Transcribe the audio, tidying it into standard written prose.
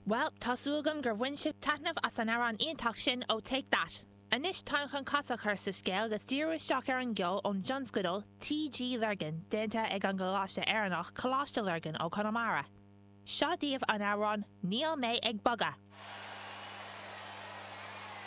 Bhuel, tá súil agam gur bhain sibh taitneamh as an amhrán iontach sin ó Take That. Anois táim chun casadh a chur sa scéal agus díriú isteach ar an gceol ón dtionscadal TG Lurgan, déanta ag an gcoláiste Éireannach, Coláiste Lurgan ó Chonamara. Seo daoibh an amhrán Níl Mé Ag Bogadh!